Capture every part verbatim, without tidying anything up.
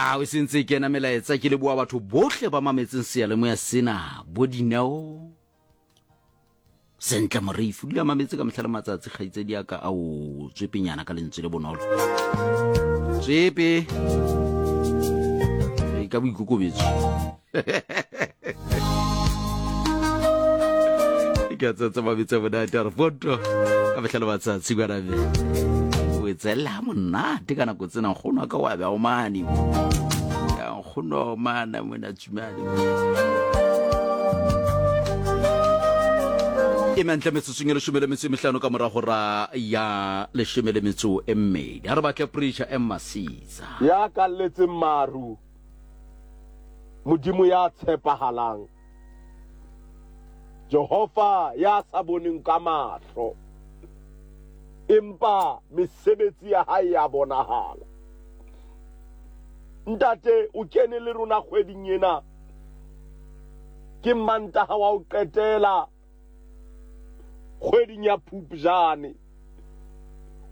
A o sentse ke kena melaetsa, ke leboa batho bohle ba mametseng seyalemoya sena, bo Dineo Sentle Moreifi o dula mametse ka mehla le matsatsi. Kgaitsedi ya ka ao tswepenyana ka lentswe le bonolo, tswepe e ka boikokobetso ke a tsatsa mametse monate a re foto ka mehla le matsatsi kwanabe o e tselela monate ka nako tsena. Nkgono wa ka wa be o mane ya nkgono mana mona tsumane e mentle. Metsotsong e leshome le metso e mehlano ka morago ra ya leshome le metso e mmedi, ga re batle Preacher M Masitsa. Ya kalletseng maru, Modimo ya tshepahalang, Jehova ya sa boneng ka mahlo, empa mesebetsi ya hae ya bonahala. Ntate, o kene le rona kgweding ena, ke Mantaha wa ho qetela kgweding ya Phupjane,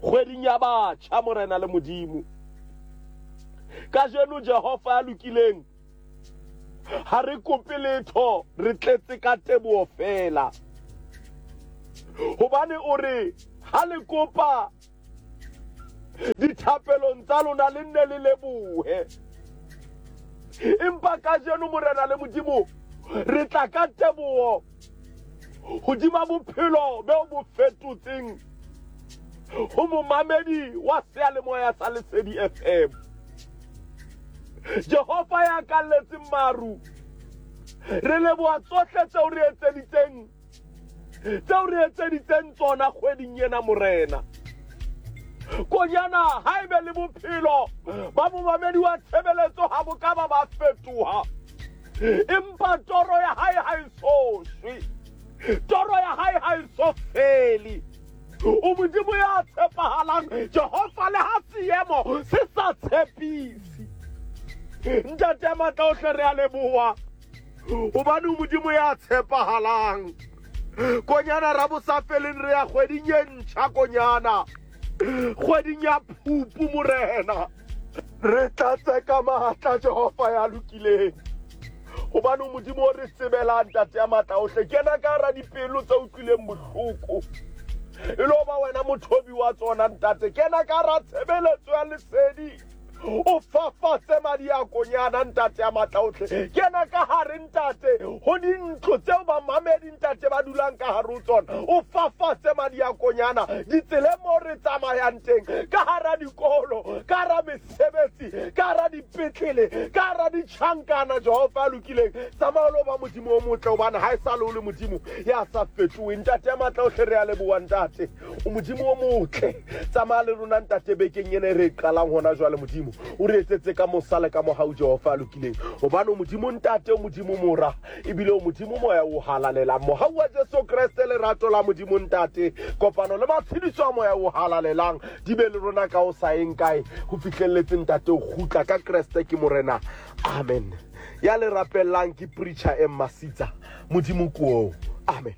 kgweding ya batjha. Morena le Modimo, kajeno Jehova ya lokileng, ha re kope letho, re tletse ka teboho fela, hobane o re ha le kopa dithapelong tsa lona le nne le lebohe. Empa kajeno, Morena le Modimo, re tla ka teboho hodima bophelo beo bo fetotseng ho momamedi wa seyalemoya sa Lesedi F M. Jehova ya kalletseng maru, re leboha tsohle tseo re etseditseng tseo re etseditseng tsona kgweding ena. Morena, konyana ha ebe le bophelo ba momamedi wa tshebeletso ha bo ka ba ba fetoha, empa toro ya hae ha e so shwe, toro ya hae ha e so fele. O Modimo ya tshepahalang, Jehova, le ha seemo se sa tshepise. Ntate ya matla ohle, re a leboha hobane o Modimo ya tshepahalang. Konyana ra bosafeleng, re ya kgweding e ntjha, konyana kgweding ya Phupu. Morena, re tlatse ka matla, Jehova ya lokileng, hobane o Modimo o re tsebelang. Ntate ya matla ohle, kena ka hara dipelo tse utlwileng bohloko, e lo ba wena mothobi wa tsona. Ntate, kena ka hara tshebeletso ya Lesedi, o fafatse madi a konyana. Ntate ya matla ohle, kena ka hare, ntate, ho dintlo tseo bamamedi, ntate, ba dulang ka hare ho tsona, o fafatse madi a konyana. Ditseleng mo re tsamayang teng, ka hara dikolo, ka hara mesebetsi, ka hara dipetlele, ka hara ditjhankana, Jehova ya lokileng, tsamaya lo ba Modimo o motle, hobane ha e sa le o le Modimo ya sa fetoheng. Ntate ya matla ohle, re a leboha. Ntate, o Modimo o motle. Tsamaya le rona, ntate, bekeng ena e re e qalang hona jwale. Modimo, o re etsetse ka mosa le ka mohau, Jehova a lokileng, hobane o Modimo Ntate, o Modimo Mora, ebile o Modimo Moya o Halalelang. Mohau wa Jesu Kreste, lerato la Modimo Ntate, kopano le matshediso a Moya o Halalelang di be le rona ka o sa eng kae ho fihlelletse ntate o kgutla ka Kreste ke Morena. Amen. Ya le rapellang ke Preacher M Masitsa. Modimo ko. Amen.